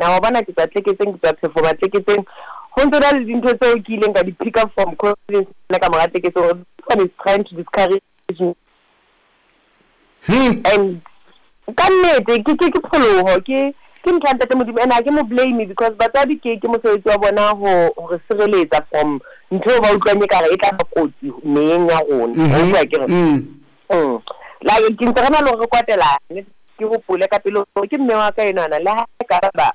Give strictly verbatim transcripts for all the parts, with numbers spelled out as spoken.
Wa bona ke tswa Tleketseng, ke tswa Phefo Tleketseng. Ho ntso na le dintho tseo ke ileng ka di pick up from confidence ka mora Tleketseng. This one is trying to discourage me. Hmm. And ka nnete ke ke ke pholoho, ke ke ntho ya ntate Modimo, and ha ke mo blame because batswadi ke ke mosebetsi wa bona ho hore sireletsa from ntho eo ba utlwang ekare e tla ba kotsi meyeng ya rona. Mhm. Wa utlwa akere? Mm. Mm. Like ke ntse re na le hore re kwatelane, ke hopole ka pele hore ke mme wa ka enwana, le ha e ka ba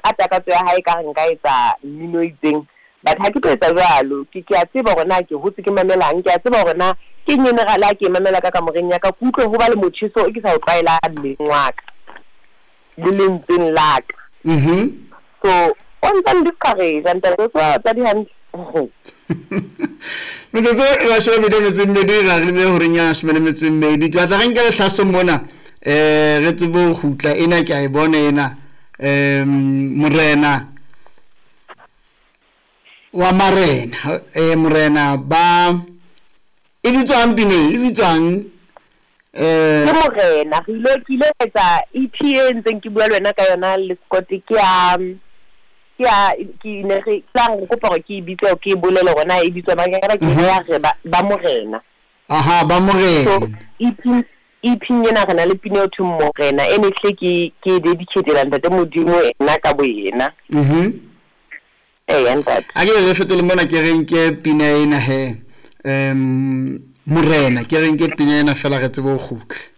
ka takatso ya hae ka re nka etsa mmino o itseng, but ha ke tlo etsa jwalo. Ke ke a tseba hore na ke hotse ke mamelang, ke a tseba hore na ke eng ene le ha ke e mamela ka kamoreng ya ka, ke utlwe ho ba le motjheso o ke sa o tlwaelang mmeleng wa ka le lentsweng la ka. Mhm. So o ntsa n-discourage ntate, o tseba batswadi hantle. Metsotso e mashome a mabedi a metso e mmedi ra re be horeng ya leshome le metso e mmedi. Ke batla re nke lehlaso mona, um re tsebe ho kgutla. Ena ke a e bona ena, um morena wa marena, eh morena ba e bitswang pina e bitswang eh Ke morena. Re ile ke ile ka etsa E P e ntseng ke bua le wena ka yona le Scott, ke ya ke ya ke ne re tla re kopa hore ke e bitse, ke e bolele hore na e bitswa mang, ke ke ya re ba ba morena. Aha, ba So morena. E P E P ena re na le pina eo thweng Morena, e ne hle ke ke e dedicate-ela ntate Modimo ena ka bo yena. Mhm eya ntate. A ke re fetole mona, ke re nke pina ena he, um morena, ke re nke pina ena fela re tsebe ho kgutla.